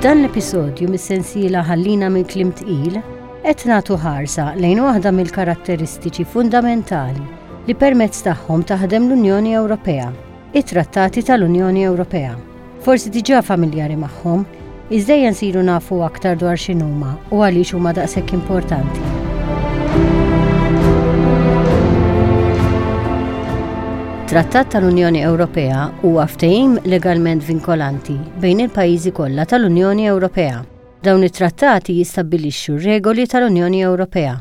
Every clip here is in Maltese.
F'dan l-episodju mis-sensiela Ħallina minn Kliem Tqil, qed nagħtu ħarsa lejn waħda mill-karatteristiċi fundamentali li permezz tagħhom taħdem l-Unjoni Ewropea, it-Trattati tal-Unjoni Ewropea. Forsi diġà familjari magħhom, iżda ejja nsiru nafu aktar dwar x'inhuma u għaliex huma daqshekk importanti. Trattat tal-Unjoni Ewropea huwa ftehim legalment vinkolanti bejn il-pajjiżi kollha tal-Unjoni Ewropea. Dawn it-trattati jistabbilixxu r-regoli tal-Unjoni Ewropea,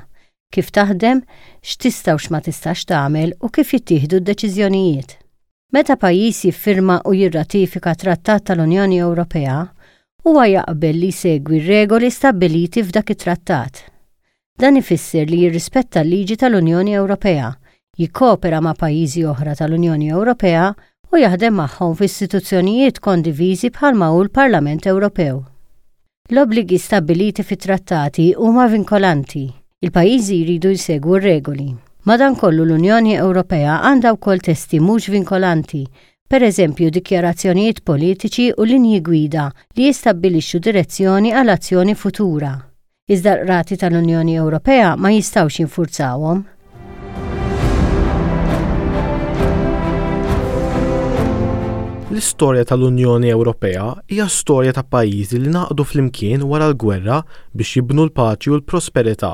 kif taħdem, x'tista' u x'ma tistax tagħmel u kif jittieħdu d-deċiżjonijiet. Meta pajjiż jiffirma u jirratifika trattat tal-Unjoni Ewropea, huwa jaqbel li jsegwi r-regoli stabbiliti f'dak it-trattat. Dan ifisser li jirrispetta l-liġi tal-Unjoni Ewropea, jikkoopera ma' pajjiżi oħra tal-Unjoni Ewropea u jaħdem magħhom f'istituzzjonijiet kondiviżi bħalma hu l-Parlament Ewropew. L-obbligi stabbiliti fit-trattati huma vinkolanti. Il-pajjiżi jridu jsegwu r-regoli. Madankollu l-Unjoni Ewropea għandha wkoll testi mhux vinkolanti, pereżempju dikjarazzjonijiet politiċi u linji gwida li jistabbilixxu direzzjoni għal azzjoni futura. Iżda l-qrati tal-Unjoni Ewropea ma jistgħux jinfurzawhom. L-istorja tal-Unjoni Ewropea hija storja ta' pajjiżi li ngħaqdu flimkien wara l-gwerra biex jibnu l-paċi u l-prosperità.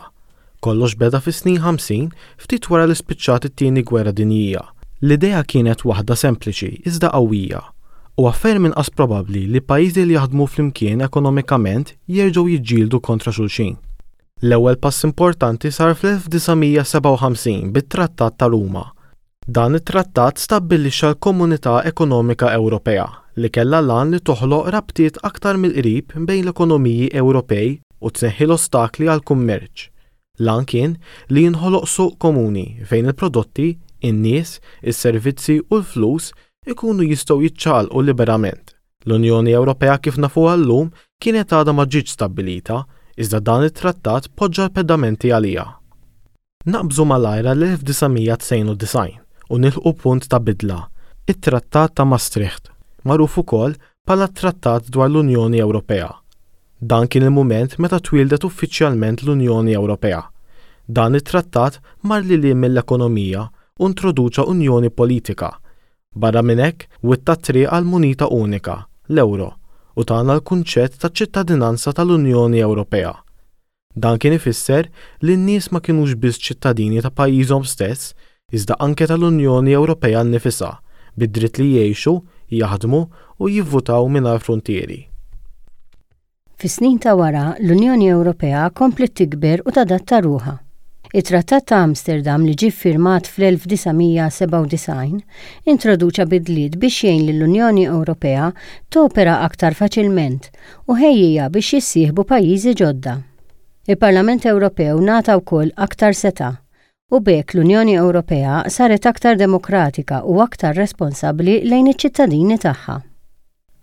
Kollox beda fis-snin 50 ftit wara li spiċċat it-Tieni Gwerra Dinjija. L-idea kienet waħda sempliċi iżda qawwija. Huwa ferm inqas probabbli li pajjiżi li jaħdmu flimkien ekonomikament jerġgħu jiġġieldu kontra xulxin. L-ewwel pass importanti sar fl-1957 bit-Trattat ta' Ruma. Dan it-trattat stabbilixxa l-Komunità Ekonomika Ewropea, li kellha l-għan li toħloq rabtiet aktar mill-qrib bejn l-ekonomiji Ewropej u tneħħi l-ostakli għall-kummerċ. L-għan kien li jinħoloq suq komuni fejn il-prodotti, in-nies, is-servizzi u l-flus ikunu jistgħu jiċċaqalqu liberament. L-Unjoni Ewropea kif nafuha llum kienet għadha ma ġietx stabbilita, iżda dan it-trattat poġġa l-pedamenti għaliha. Naqbżu malajr għall-1992 u nilħqu punt ta' bidla, it-Trattat ta' Maastricht, magħruf ukoll bħala t-Trattat dwar l-Unjoni Ewropea. Dan kien il-mument meta twieldet uffiċjalment l-Unjoni Ewropea. Dan it-trattat mar lil hinn mill-ekonomija u introduċa unjoni politika, Barra minn hekk, witta t-triq għal munita unika, l-ewro, u tana l-kunċett ta' ċittadinanza tal-Unjoni Ewropea. Dan kien ifisser li n-nies ma kinux biss ċittadini ta' pajjiżhom stess, iżda anke tal-Unjoni Ewropea nnifisha, bid-dritt li jgħixu, jaħdmu u jivvutaw mingħajr fruntieri. Fis-snin ta' wara, l-Unjoni Ewropea kompliet tikber u tadatta ruħha. It-Trattat ta' Amsterdam li ġie ffirmat fl-1997 introduċa bidliet biex jgħin lill-Unjoni Ewropea topera aktar faċilment u ħejjiha biex jissieħbu pajjiżi ġodda. Il-Parlament Ewropew ngħata wkoll aktar setgħa u b'hekk l-Unjoni Ewropea saret aktar demokratika u aktar responsabbli lejn iċ-ċittadini tagħha.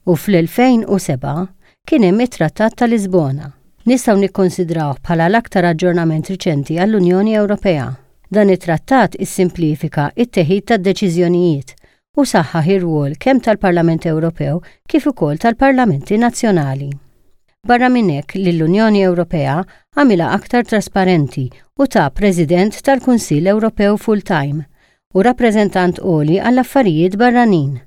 U fl-2007 kien hemm it-Trattat ta' Lisbona. Nistgħu nikkonsidrawh bħala l-aktar aġġornament riċenti għall-Unjoni Ewropea. Dan it-trattat issimplifika t-teħid tad-deċiżjonijiet u saħħaħ ir-rwol kemm tal-Parlament Ewropew kif ukoll tal-parlamenti nazzjonali. Barra minn hekk lill-Unjoni Ewropea għamilha aktar trasparenti u ta President tal-Kunsill Ewropew full-time u Rappreżentant Għoli għall-Affarijiet Barranin.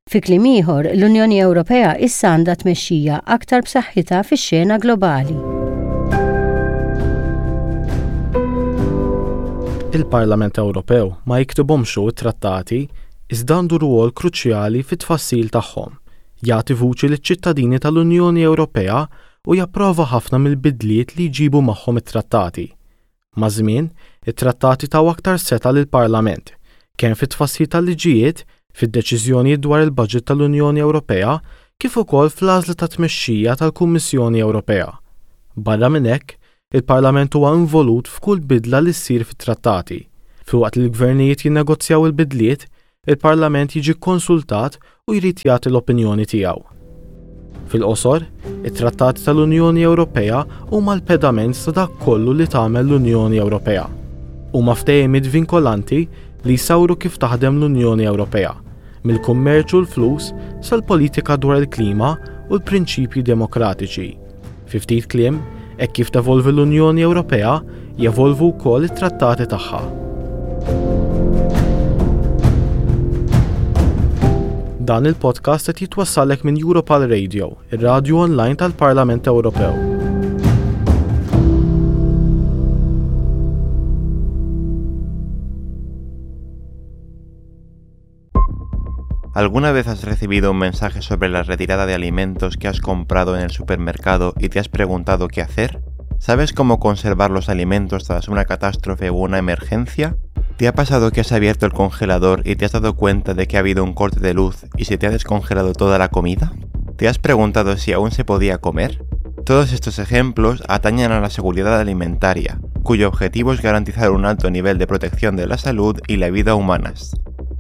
Fi kliem ieħor, l-Unjoni Ewropea issa għandha tmexxija aktar b'saħħitha fix-xena globali. Il-Parlament Ewropew ma jiktibhomx hu t-trattati, iżda għandu rwol kruċjali fit-tfassil tagħhom, jagħti vuċi liċ-ċittadini tal-Unjoni Ewropea u japprova ħafna mill-bidliet li jġibu magħhom it-trattati. Maż-żmien, it-trattati taw aktar setgħa lill-Parlament, kemm fit-tfassil tal-liġijiet, fid-deċiżjonijiet dwar il-baġit tal-Unjoni Ewropea kif ukoll fl-għażla tat-tmexxija tal-Kummissjoni Ewropea. Barra minn hekk, il-Parlament huwa involut f'kull bidla li ssir fit-trattati. Filwaqt li l-gvernijiet jinnegozjaw il-bidliet, il-Parlament jiġi kkonsultat u jrid jagħti l-opinjoni tiegħu. Fil-qosor, it-Trattati tal-Unjoni Ewropea huma l-pedament ta' dak kollu li tagħmel l-Unjoni Ewropea. Huma ftehimiet vinkolanti li jsawru kif taħdem l-Unjoni Ewropea, mill-kummerċ u l-flus sal-politika dwar il-klima u l-prinċipji demokratiċi. Fi ftit kliem, hekk kif tevolvi l-Unjoni Ewropea, jevolvu wkoll it-trattati tagħha. Dan il-podcast qed jitwassallek minn Europal Radio, ir-radju online tal-Parlament Ewropew. ¿Alguna vez has recibido un mensaje sobre la retirada de alimentos que has comprado en el supermercado y te has preguntado qué hacer? ¿Sabes cómo conservar los alimentos tras una catástrofe o una emergencia? ¿Te ha pasado que has abierto el congelador y te has dado cuenta de que ha habido un corte de luz y se te ha descongelado toda la comida? ¿Te has preguntado si aún se podía comer? Todos estos ejemplos atañen a la seguridad alimentaria, cuyo objetivo es garantizar un alto nivel de protección de la salud y la vida humanas.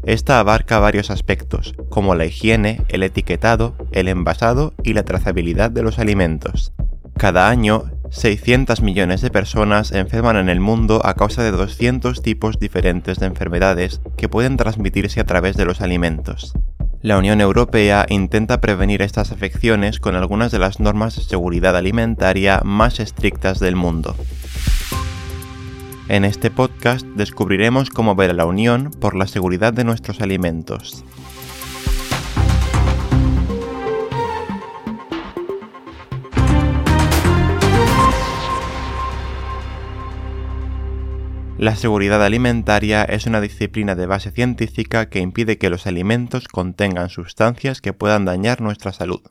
Esta abarca varios aspectos, como la higiene, el etiquetado, el envasado y la trazabilidad de los alimentos. Cada año, 600 millones de personas enferman en el mundo a causa de 200 tipos diferentes de enfermedades que pueden transmitirse a través de los alimentos. La Unión Europea intenta prevenir estas afecciones con algunas de las normas de seguridad alimentaria más estrictas del mundo. En este podcast descubriremos cómo ver a la Unión por la seguridad de nuestros alimentos. La seguridad alimentaria es una disciplina de base científica que impide que los alimentos contengan sustancias que puedan dañar nuestra salud.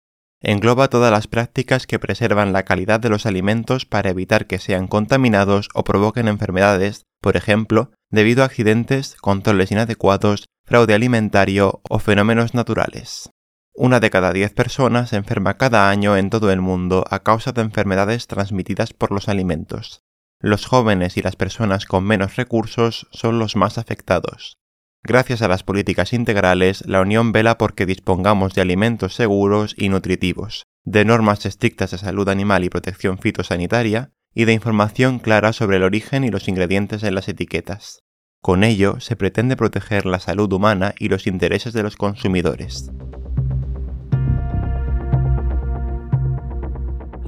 Engloba todas las prácticas que preservan la calidad de los alimentos para evitar que sean contaminados o provoquen enfermedades, por ejemplo, debido a accidentes, controles inadecuados, fraude alimentario o fenómenos naturales. Una de cada 10 personas se enferma cada año en todo el mundo a causa de enfermedades transmitidas por los alimentos. Los jóvenes y las personas con menos recursos son los más afectados. Gracias a las políticas integrales, la Unión vela porque dispongamos de alimentos seguros y nutritivos, de normas estrictas de salud animal y protección fitosanitaria, y de información clara sobre el origen y los ingredientes en las etiquetas. Con ello, se pretende proteger la salud humana y los intereses de los consumidores.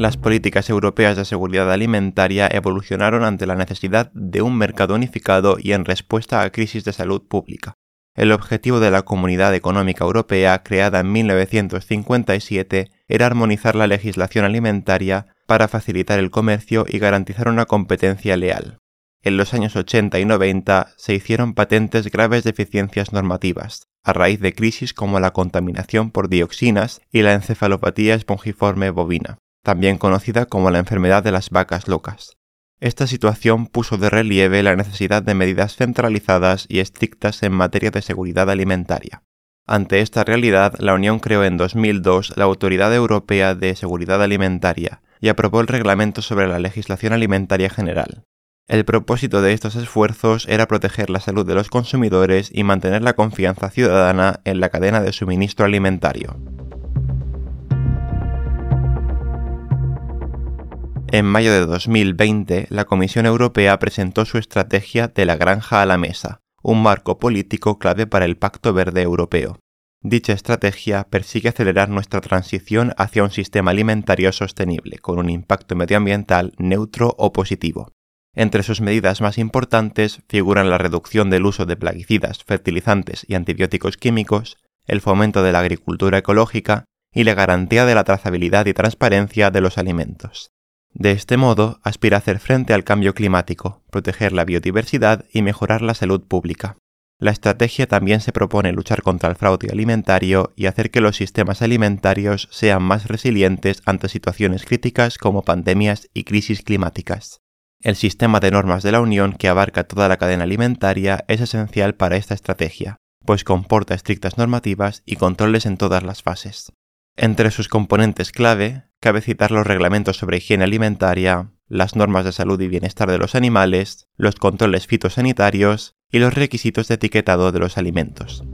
Las políticas europeas de seguridad alimentaria evolucionaron ante la necesidad de un mercado unificado y en respuesta a crisis de salud pública. El objetivo de la Comunidad Económica Europea, creada en 1957, era armonizar la legislación alimentaria para facilitar el comercio y garantizar una competencia leal. En los años 80 y 90 se hicieron patentes graves deficiencias normativas, a raíz de crisis como la contaminación por dioxinas y la encefalopatía espongiforme bovina, también conocida como la enfermedad de las vacas locas. Esta situación puso de relieve la necesidad de medidas centralizadas y estrictas en materia de seguridad alimentaria. Ante esta realidad, la Unión creó en 2002 la Autoridad Europea de Seguridad Alimentaria y aprobó el Reglamento sobre la Legislación Alimentaria General. El propósito de estos esfuerzos era proteger la salud de los consumidores y mantener la confianza ciudadana en la cadena de suministro alimentario. En mayo de 2020, la Comisión Europea presentó su estrategia de la granja a la mesa, un marco político clave para el Pacto Verde Europeo. Dicha estrategia persigue acelerar nuestra transición hacia un sistema alimentario sostenible, con un impacto medioambiental neutro o positivo. Entre sus medidas más importantes figuran la reducción del uso de plaguicidas, fertilizantes y antibióticos químicos, el fomento de la agricultura ecológica y la garantía de la trazabilidad y transparencia de los alimentos. De este modo, aspira a hacer frente al cambio climático, proteger la biodiversidad y mejorar la salud pública. La estrategia también se propone luchar contra el fraude alimentario y hacer que los sistemas alimentarios sean más resilientes ante situaciones críticas como pandemias y crisis climáticas. El sistema de normas de la Unión, que abarca toda la cadena alimentaria, es esencial para esta estrategia, pues comporta estrictas normativas y controles en todas las fases. Entre sus componentes clave, cabe citar los reglamentos sobre higiene alimentaria, las normas de salud y bienestar de los animales, los controles fitosanitarios y los requisitos de etiquetado de los alimentos.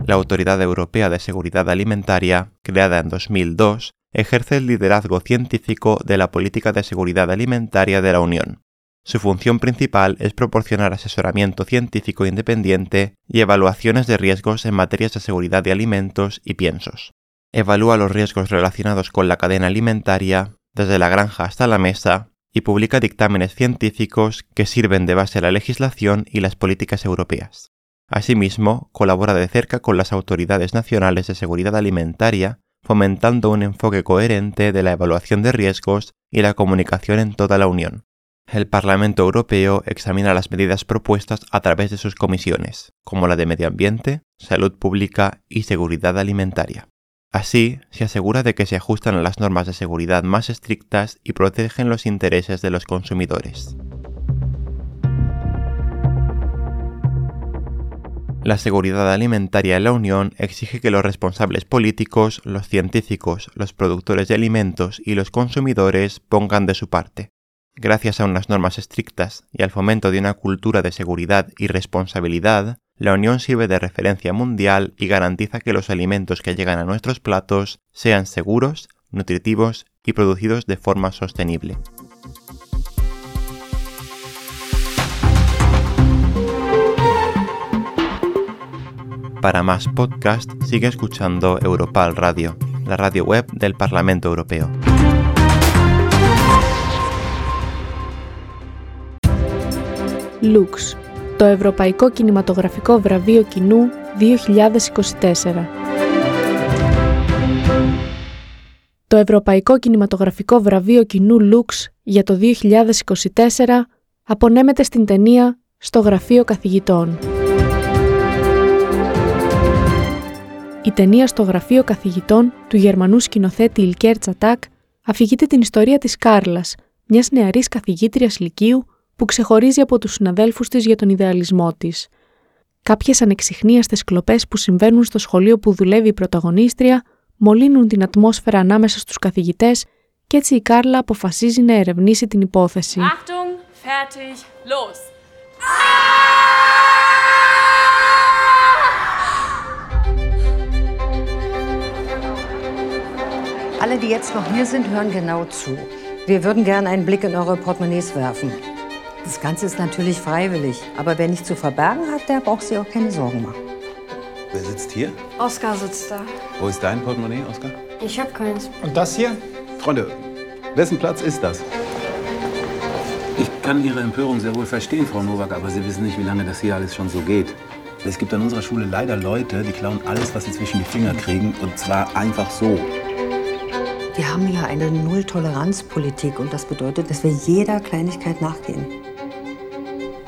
La Autoridad Europea de Seguridad Alimentaria, creada en 2002, ejerce el liderazgo científico de la política de seguridad alimentaria de la Unión. Su función principal es proporcionar asesoramiento científico independiente y evaluaciones de riesgos en materias de seguridad de alimentos y piensos. Evalúa los riesgos relacionados con la cadena alimentaria, desde la granja hasta la mesa, y publica dictámenes científicos que sirven de base a la legislación y las políticas europeas. Asimismo, colabora de cerca con las autoridades nacionales de seguridad alimentaria, fomentando un enfoque coherente de la evaluación de riesgos y la comunicación en toda la Unión. El Parlamento Europeo examina las medidas propuestas a través de sus comisiones, como la de Medio Ambiente, Salud Pública y Seguridad Alimentaria. Así, se asegura de que se ajustan a las normas de seguridad más estrictas y protegen los intereses de los consumidores. La seguridad alimentaria en la Unión exige que los responsables políticos, los científicos, los productores de alimentos y los consumidores pongan de su parte. Gracias a unas normas estrictas y al fomento de una cultura de seguridad y responsabilidad, la Unión sirve de referencia mundial y garantiza que los alimentos que llegan a nuestros platos sean seguros, nutritivos y producidos de forma sostenible. Para más podcast, sigue escuchando Europal Radio, la radio web del Parlamento Europeo. Lux, το Ευρωπαϊκό Κινηματογραφικό Βραβείο Κοινού 2024. Το Ευρωπαϊκό Κινηματογραφικό Βραβείο Κοινού Lux για το 2024 απονέμεται στην ταινία «Στο Γραφείο Καθηγητών». Η ταινία «Στο Γραφείο Καθηγητών» του Γερμανού σκηνοθέτη Ιλκέρ Τσατάκ αφηγείται την ιστορία της Κάρλας, μιας νεαρής καθηγήτριας λυκείου που ξεχωρίζει από τους συναδέλφους της για τον ιδεαλισμό της. Κάποιες ανεξιχνίαστες κλοπές που συμβαίνουν στο σχολείο που δουλεύει η πρωταγωνίστρια μολύνουν την ατμόσφαιρα ανάμεσα στους καθηγητές και έτσι η Κάρλα αποφασίζει να ερευνήσει την υπόθεση. Achtung, fertig, los! Alle, die jetzt noch hier sind, hören genau zu. Wir würden gerne einen Blick in eure Portemonnaies werfen. Das Ganze ist natürlich freiwillig, aber wer nichts zu verbergen hat, der braucht sich auch keine Sorgen machen. Wer sitzt hier? Oskar sitzt da. Wo ist dein Portemonnaie, Oskar? Ich hab keins. Und das hier? Freunde, wessen Platz ist das? Ich kann Ihre Empörung sehr wohl verstehen, Frau Nowak, aber Sie wissen nicht, wie lange das hier alles schon so geht. Es gibt an unserer Schule leider Leute, die klauen alles, was sie zwischen die Finger kriegen, und zwar einfach so. Wir haben hier eine Null-Toleranz-Politik und das bedeutet, dass wir jeder Kleinigkeit nachgehen.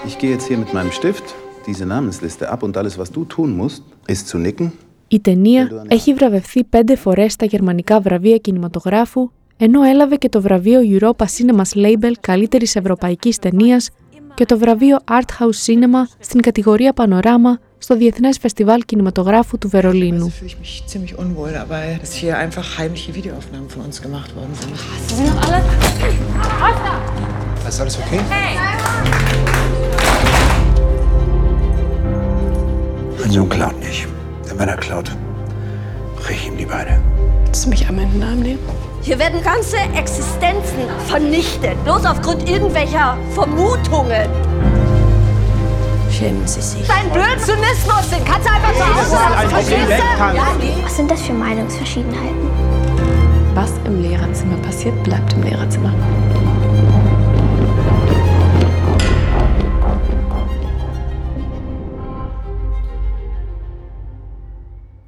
Ich gehe jetzt hier mit meinem Stift diese Namensliste ab und alles, was du tun musst, ist zu nicken. Η ταινία έχει βραβευθεί 5 φορές στα γερμανικά βραβεία κινηματογράφου, ενώ έλαβε και το βραβείο Europa Cinemas Label καλύτερης ευρωπαϊκής ταινίας και το βραβείο Art House Cinema στην κατηγορία Πανοράμα στο Διεθνές Φεστιβάλ Κινηματογράφου του Βερολίνου. Mein Sohn klaut nicht. Denn wenn er klaut, brech ich ihm die Beine. Willst du mich einmal in den Arm nehmen? Hier werden ganze Existenzen vernichtet, bloß aufgrund irgendwelcher Vermutungen. Schämen Sie sich. Dein blöden Zynismus, den kannst du einfach zu Hause lassen, verstehst du? Was sind das für Meinungsverschiedenheiten? Was im Lehrerzimmer passiert, bleibt im Lehrerzimmer.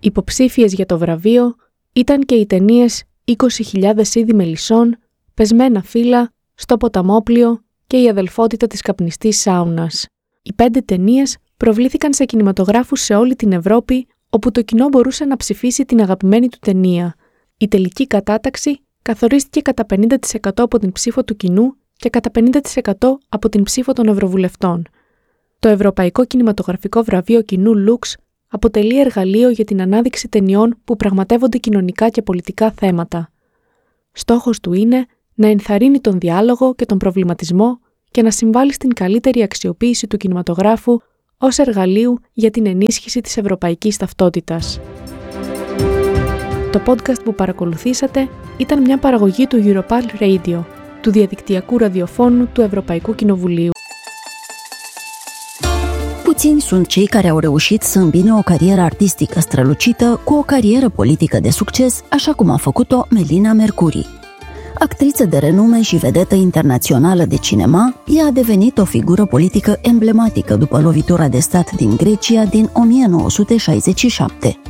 Υποψήφιες για το βραβείο ήταν και οι ταινίες 20.000 είδη μελισσών, Πεσμένα φύλλα, Στο ποταμόπλοιο και Η αδελφότητα της καπνιστής σάουνας. Οι 5 ταινίες προβλήθηκαν σε κινηματογράφους σε όλη την Ευρώπη, όπου το κοινό μπορούσε να ψηφίσει την αγαπημένη του ταινία. Η τελική κατάταξη καθορίστηκε κατά 50% από την ψήφο του κοινού και κατά 50% από την ψήφο των Ευρωβουλευτών. Το Ευρωπαϊκό Κινηματογραφικό Βραβείο Κοινού Lux αποτελεί εργαλείο για την ανάδειξη ταινιών που πραγματεύονται κοινωνικά και πολιτικά θέματα. Στόχος του είναι να ενθαρρύνει τον διάλογο και τον προβληματισμό και να συμβάλλει στην καλύτερη αξιοποίηση του κινηματογράφου ως εργαλείου για την ενίσχυση της ευρωπαϊκής ταυτότητας. Το podcast που παρακολουθήσατε ήταν μια παραγωγή του Europal Radio. του διαδικτυακού ραδιοφώνου του Ευρωπαϊκού Κοινοβουλίου. Puțini sunt cei care au reușit să îmbine o carieră artistică strălucită cu o carieră politică de succes, așa cum a făcut-o Melina Mercouri. Actriță de renume și vedetă internațională de cinema, ea a devenit o figură politică emblematică după lovitura de stat din Grecia din 1967.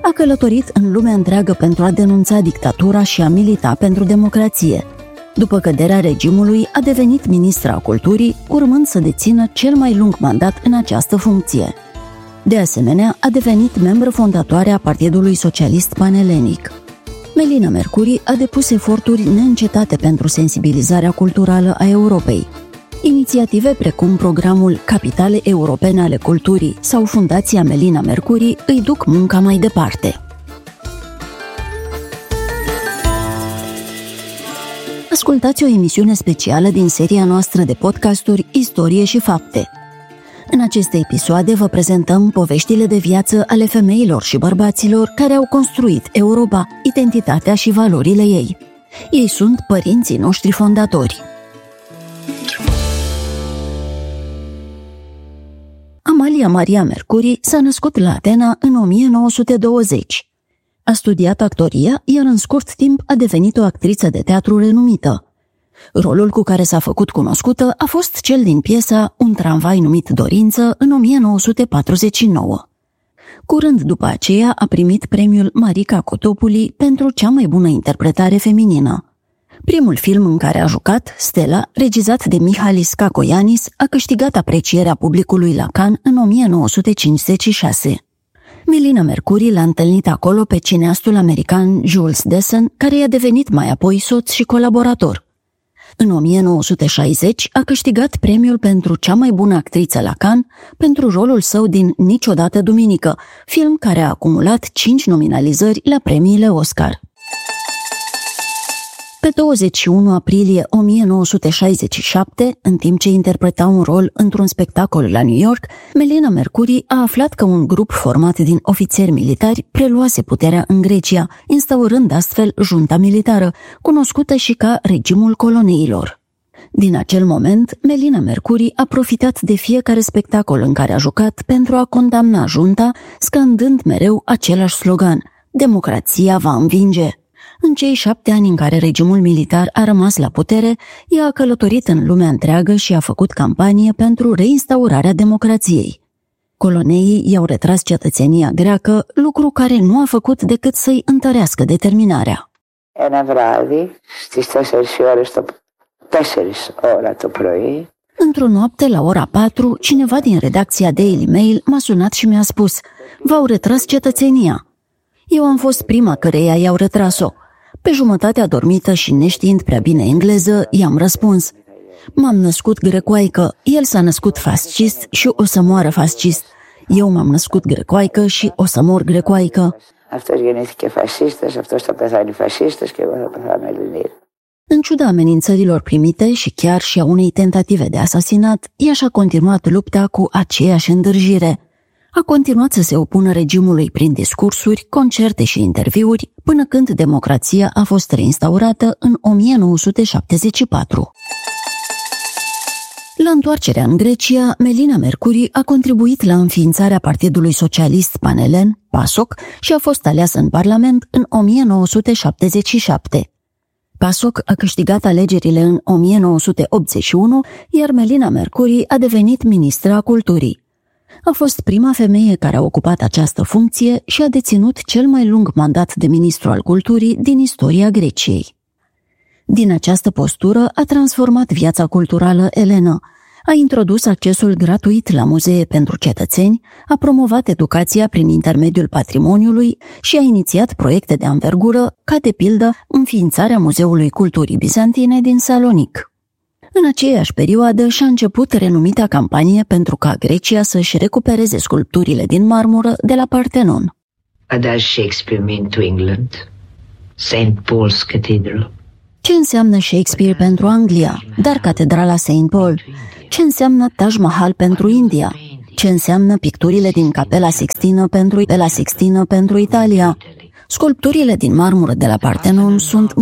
A călătorit în lumea întreagă pentru a denunța dictatura și a milita pentru democrație. După căderea regimului, a devenit ministra culturii, urmând să dețină cel mai lung mandat în această funcție. De asemenea, a devenit membră fondatoare a Partidului Socialist Panelenic. Melina Mercouri a depus eforturi neîncetate pentru sensibilizarea culturală a Europei. Inițiative precum programul Capitale Europene ale Culturii sau Fundația Melina Mercouri îi duc munca mai departe. Ascultați o emisiune specială din seria noastră de podcasturi Istorie și Fapte. În aceste episoade vă prezentăm poveștile de viață ale femeilor și bărbaților care au construit Europa, identitatea și valorile ei. Ei sunt părinții noștri fondatori. Amalia Maria Mercouri s-a născut la Atena în 1920. A studiat actoria, iar în scurt timp a devenit o actriță de teatru renumită. Rolul cu care s-a făcut cunoscută a fost cel din piesa Un tramvai numit Dorință în 1949. Curând după aceea a primit premiul Marica Cotopuli pentru cea mai bună interpretare feminină. Primul film în care a jucat, Stella, regizat de Mihalis Cacoianis, a câștigat aprecierea publicului la Cannes în 1956. Melina Mercouri l-a întâlnit acolo pe cineastul american Jules Dassin, care i-a devenit mai apoi soț și colaborator. În 1960 a câștigat premiul pentru cea mai bună actriță la Cannes pentru rolul său din Niciodată Duminică, film care a acumulat 5 nominalizări la premiile Oscar. Pe 21 aprilie 1967, în timp ce interpreta un rol într-un spectacol la New York, Melina Mercouri a aflat că un grup format din ofițeri militari preluase puterea în Grecia, instaurând astfel junta militară, cunoscută și ca regimul coloneilor. Din acel moment, Melina Mercouri a profitat de fiecare spectacol în care a jucat pentru a condamna junta, scandând mereu același slogan: Democrația va învinge! În cei 7 ani în care regimul militar a rămas la putere, ea a călătorit în lumea întreagă și a făcut campanie pentru reinstaurarea democrației. Coloneii i-au retras cetățenia greacă, lucru care nu a făcut decât să-i întărească determinarea. Ένα βράδυ, στις 4 ώρες το, 4 ώρα το πρωί, Într-o noapte, la ora 4, cineva din redacția Daily Mail m-a sunat și mi-a spus: V-au retras cetățenia. Eu am fost prima căreia i-au retras-o. Pe jumătate adormită și neștiind prea bine engleză, i-am răspuns: M-am născut grecoaică, el s-a născut fascist și o să moară fascist. Eu m-am născut grecoaică și o să mor grecoaică. Αυτός γεννήθηκε φασίστας, αυτός θα πεθάνει φασίστας και εγώ θα πεθάνω Ελληνίδα. În ciuda amenințărilor primite și chiar și a unei tentative de asasinat, ea și-a continuat lupta cu aceeași îndârjire. A continuat să se opună regimului prin discursuri, concerte și interviuri, până când democrația a fost reinstaurată în 1974. La întoarcerea în Grecia, Melina Mercouri a contribuit la înființarea Partidului Socialist Panelen, PASOK, și a fost aleasă în Parlament în 1977. PASOK a câștigat alegerile în 1981, iar Melina Mercouri a devenit ministra a culturii. A fost prima femeie care a ocupat această funcție și a deținut cel mai lung mandat de ministru al culturii din istoria Greciei. Din această postură a transformat viața culturală elenă, a introdus accesul gratuit la muzee pentru cetățeni, a promovat educația prin intermediul patrimoniului și a inițiat proiecte de anvergură, ca de pildă înființarea Muzeului Culturii Bizantine din Salonic. În aceeași perioadă și-a început renumita campanie pentru ca Grecia să-și recupereze sculpturile din marmură de la Partenon. What does Shakespeare mean to England? St. Paul's Cathedral. Ce înseamnă Shakespeare pentru Anglia, dar Catedrala St. Paul? Ce înseamnă Taj Mahal pentru India? Ce înseamnă picturile din Capela Sixtină pentru Italia? Sculpturile din marmură de la Partenon sunt